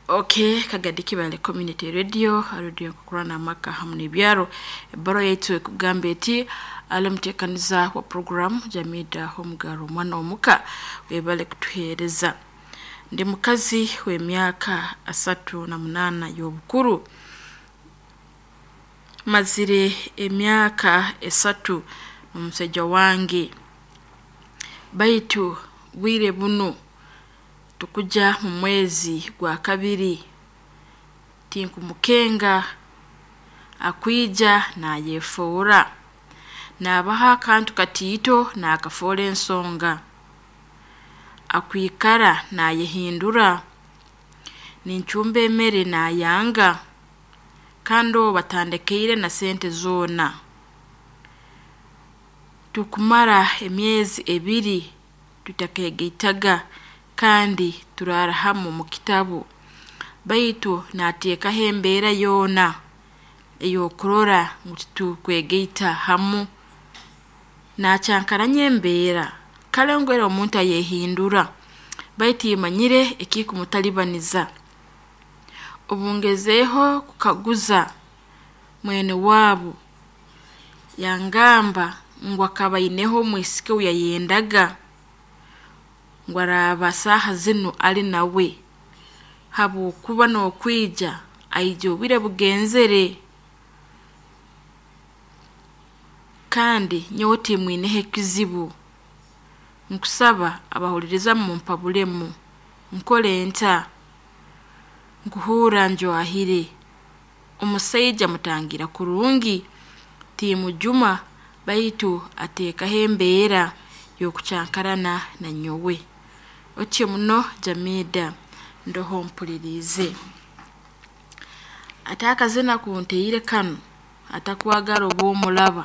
Okay, Kagadi Kibale Community Radio, radio kukurana amaka hamu n'ebyaro. Ebbaruha yaitu ekugamba eti ali muteekaniza wa program Jamida Homugaro omwana omuka webale kutuheereza. Ndi mukazi w'emyaka 38 y'obukuru. Mazire emyaka 3 n'omusaija wange. Baitu bwire bunu tukujya mu mwezi gwa kabiri tinkumukenga akwija nayefoora nabaha akantu katiito nakafoora ensonga akwikara nayehindura nincumba emere nayanga kandi obu batandekeire na sente zoona. Tukumara emyezi 2 tutakegaitaga kandi turaara hamu mu kitabu baitu nateekaho embeera yoona ey'okurora ngu titukwegaita hamu. Nakyankaranya embeera kale ngu era omuntu ayehindura baitu imanyire ekikumutalibaniza. Obu ngezeeho kukaguza mwene waabu yangamba ngu akaba aineho omwisiki ou yayendaga ngu araaba saaha zinu ali nawe habwokuba n'okwija aija obwire bugenzere kandi nyowe timwineho ekizibu. Nkusaba abahuliriza mumpabulemu nkole nta? Nkuhuura njwahire. Omusaija mutangira kurungi timujuma baitu ateekaho embeera y'okukyankarana na nyowe. Otyo muno Jamida ndoho mpuliriize. Ate akazina kunteire kanu atakwagara oba omuraba.